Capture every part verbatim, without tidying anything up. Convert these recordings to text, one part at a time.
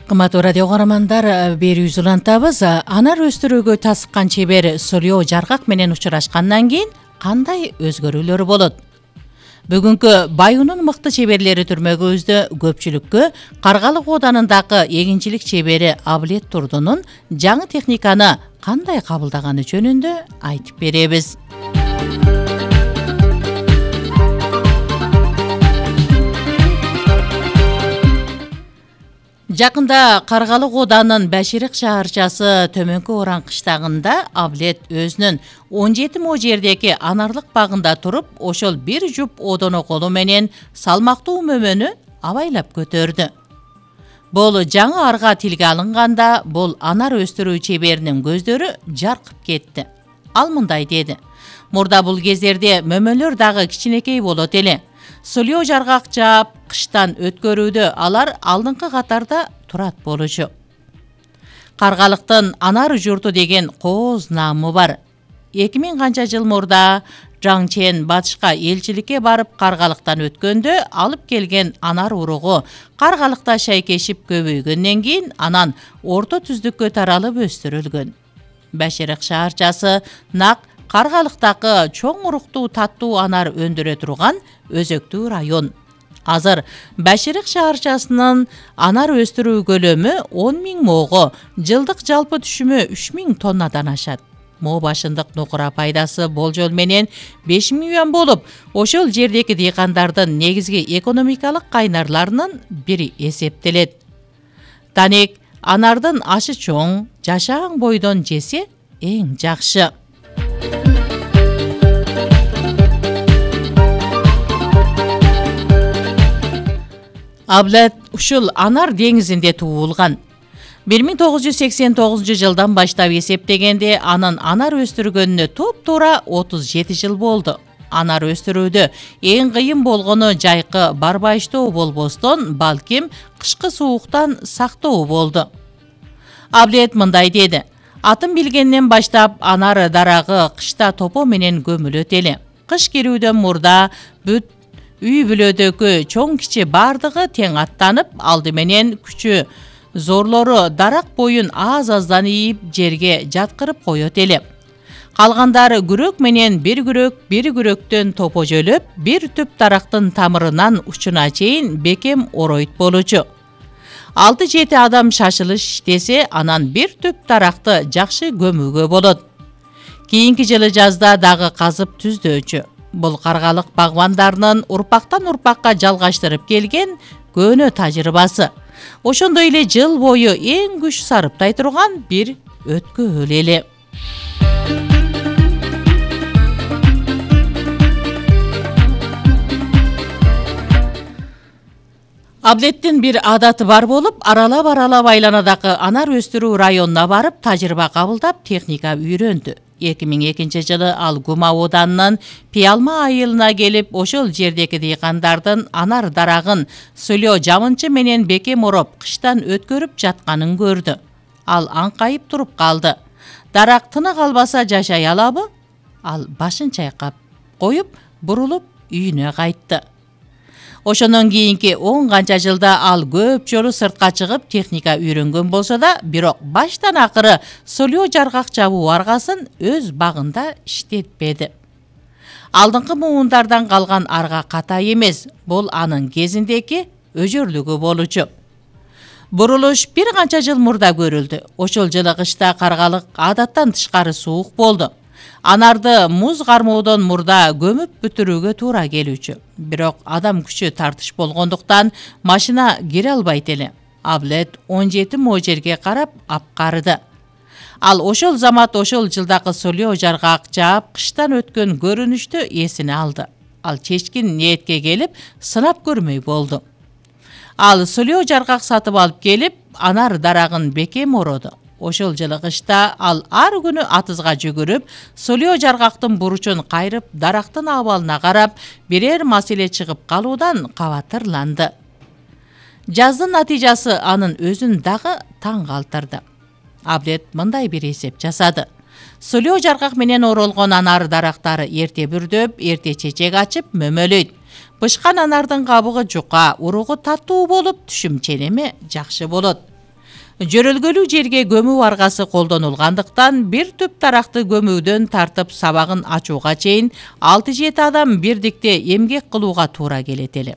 Кымбаттуу радио каармандар, берүүбүз улантабыз. Анар өстүрүүгө тасыккан чебер Солио Жаргак менен учурашкандан кийин кандай өзгөрүүлөр болот? Бүгүнкү Баюунун мыкты чеберлери түрмөгүбүздө көпчүлүккө Каргалык ооданындагы эгинчилик чебери Аблет Турдунун жаңы техниканы кандай кабылдаганы жөнүндө айтып беребиз. Жакында Каргалык ооданынын Баширик шаарчасы Төмөнкү Оран кыштагында Аблет өзүнүн он жети мо жердеги анарлык багында туруп, ошол бир жуп одоно колу менен салмактуу мөмөнү абайлап көтөрдү. Бул жаңы арга тилге алынганда, бул анар өстүрүү чеберинин көздөрү жаркып кетти. Ал мындай деди: "Мурда бул кездерде мөмөлөр дагы кичинекей болот эле. Солио Жаргак жаап, кыштан өткөрүүдө алар алдыңкы катарда турат болчу. Каргалыктын анар журту деген кооз наамы бар. эки миң канча жыл мурда Жаң Чен батышка элчиликке барып Каргалыктан өткөндө алып келген анар уругу Каргалыкта шайкешип көбөйгөндөн кийин анан орто түздүккө таралып өстүрүлгөн. Баширик шаарчасы нак Каргалыктагы чоң уруктуу таттуу анар өндүрө турган өзөктүү район. Азыр Баширик шаарчасынын анар өстүрүү көлөмү он миң моого, жылдык жалпы түшүмү үч миң тоннадан ашат. Мо башындык нукура пайдасы болжол менен беш миллион болуп, ошол жердеги дыйкандардын негизги экономикалык кайнарларынын бири эсептелет. Танек анардын ашы чоң, жашаан бойдон жесе эң жакшы. Аблет ушул анар деңизинде туулган. бир миң тогуз жүз сексен тогузунчу жылдан баштап эсептегенде анын анар өстүргөнүнө туп-туура отуз жети жыл болду. Анар өстүрүүдө эң кыйын болгону жайкы барбайыштоо болбостон, балким кышкы сууктан сактоо болду. Аблет мындай деди: "Атын билгенден баштап анар дарагы кышта топо менен көмүлөт эле. Кыш кирүүдөн мурда бүт үй бүлөдөгү чоң кичи бардыгы тең аттанып, алды менен күчү зорлору дарак боюн аз-аздан ийип жерге жаткырып коет эле. Калгандары күрөк менен бир күрөк, бир күрөктөн топо жөлөп, бир түп дарактын тамырынан учуна чейин бекем оройт болчу. алты жети адам шашылыш иштесе, анан бир түп даракты жакшы көмүүгө болот. Кийинки жылы жазда дагы казып түздөчү. Бул Каргалык багбандарынын урпактан урпакка жалгаштырып келген көөнө тажрыйбасы. Ошондой эле жыл бою эң күч сарыптай турган бир өткөөл эле. Аблеттин бир адаты бар болуп, аралап-аралап айланадагы анар өстүрүү районуна барып тажрыйба кабылдап, техника үйрөндү. эки миң экинчи жылы ал Гума ооданынын Пиалма айылына келип, ошол жердеги дыйкандардын анар дарагын Солио жамынчы менен бекем ороп, кыштан өткөрүп жатканын көрдү. Ал аңкайып туруп калды. Дарак тынык албаса жашай алабы? Ал башын чайкап коюп, бурулуп үйүнө кайтты. Ошондон кийинки он канча жылда ал көп жолу сыртка чыгып техника үйрөнгөн болсо да, бирок баштан акыры Солио Жаргак жабуу аргасын өз багында иштетпеди. Алдыңкы муундардан калган арга катай эмес, бул анын кезиндеги өжөрлүгү болчу. Бурулуш бир канча жыл мурда көрүлдү. Ошол жылы кышта Каргалык адаттан тышкары суук болду. Анарды муз кармоодон мурда көмүп бүтүрүүгө туура келүүчү. Бирок адам күчү тартыш болгондуктан машина кире албайт эле. Аблет он жети мо жерге карап апкарыды. Ал ошол замат ошол жылдагы Солио Жаргак жаап, кыштан өткөн көрүнүштү эсине алды. Ал чечкин ниетке келип, сынап көрмөй болду. Ал Солио Жаргак сатып алып келип, анар дарагын бекем ороду. Ошол жылы кышта ал ар күнү атызга жүгүрүп, Солио Жаргактын буручун кайрып, дарактын абалына карап, бирер маселе чыгып калуудан кабатырланды. Жаздын натыйжасы анын өзүн дагы таң калтырды. Аблет мындай бир эсеп жасады. Солио Жаргак менен оролгон анар дарактары эрте бүрдөп, эрте чечек ачып, мөмөлөйт. Бышкан анардын кабыгы жука, уругу таттуу болуп, түшүм ченеми жакшы болот. Жөрөлгөлүү жерге көмүү аргасы колдонулгандыктан бир түп таракты көмүүдөн тартып сабагын ачууга чейин алты жети адам бирдикте эмгек кылууга туура келет эле.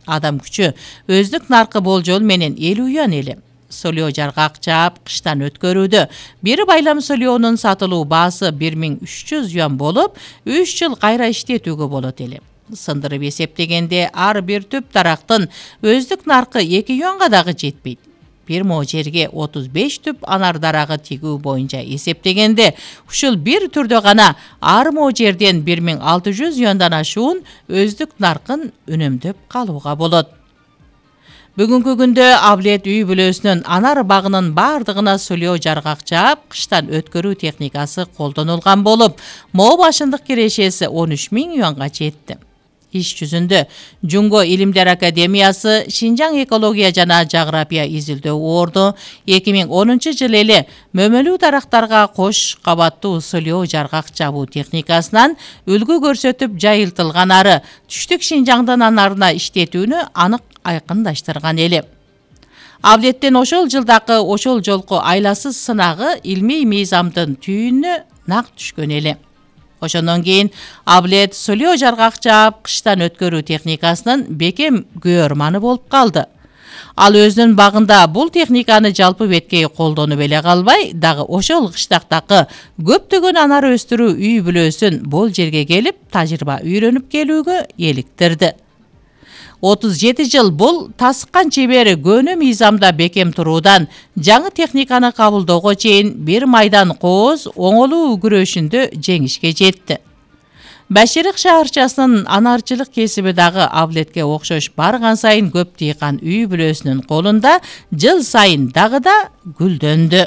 Адам күчү өздүк наркы болжол менен элүү юан эле. Солио жаргак жаап кыштан өткөрүүдө бир байлам солионун сатылуу баасы бир миң үч жүз юан болуп, үч жыл кайра иштетүүгө болот эле. Сындырып эсептегенде ар бир түп тарактын өздүк наркы эки юанга дагы жетпейт. Бир мо жерге отуз беш түп анар дарагы тигүү боюнча эсептегенде, ушул бир түрдө гана ар мо жерден бир миң алты жүз юандан ашуун өздүк наркын үнөмдөп калууга болот. Бүгүнкү күндө Авлет үй бүлөсүнүн анар багынын бардыгына солио жаргак жаап кыштан өткөрүү техникасы колдонулган болуп, мо башындык кирешеси он үч миң юанга жетти. Иш жүзүндө Жунго Илимдер Академиясы Шинжаң экология жана жаграпия изилдөө орду эки миң онунчу жылы эле мөмөлүү дарактарга кош кабаттуу солио жаргак жабуу техникасынан үлгү көрсөтүп жайылтылган ары түштүк Шинжаңдын анарына иштетүүнү анык айкындаштырган эле. Авлеттен ошол жылдакы ошол жолку айласыз сынагы илмий мыйзамдын түйүнүнө нак түшкөн эле. Ошондон кийин Авлет солио жаргак жаап кыштан өткөрүү техникасынын бекем күйөрманы болуп калды. Ал өзүнүн багында бул техниканы жалпы беткей колдонуп эле калбай, дагы ошол кыштактагы көптөгөн анар өстүрүү үй бүлөсүн бул жерге келип тажрыйба үйрөнүп келүүгө эликтирди. отуз жети жыл бул тасыккан чебери көөнө мыйзамда бекем туруудан жаңы техниканы кабылдоого чейин бир майдан кооз оңолуу күрөшүндө жеңишке жетти. Баширик шаарчасынын анарчылык кесиби дагы Авлетке окшош барган сайын көп тыйкан үй бүлөсүнүн колунда жыл сайын дагы да гүлдөндү.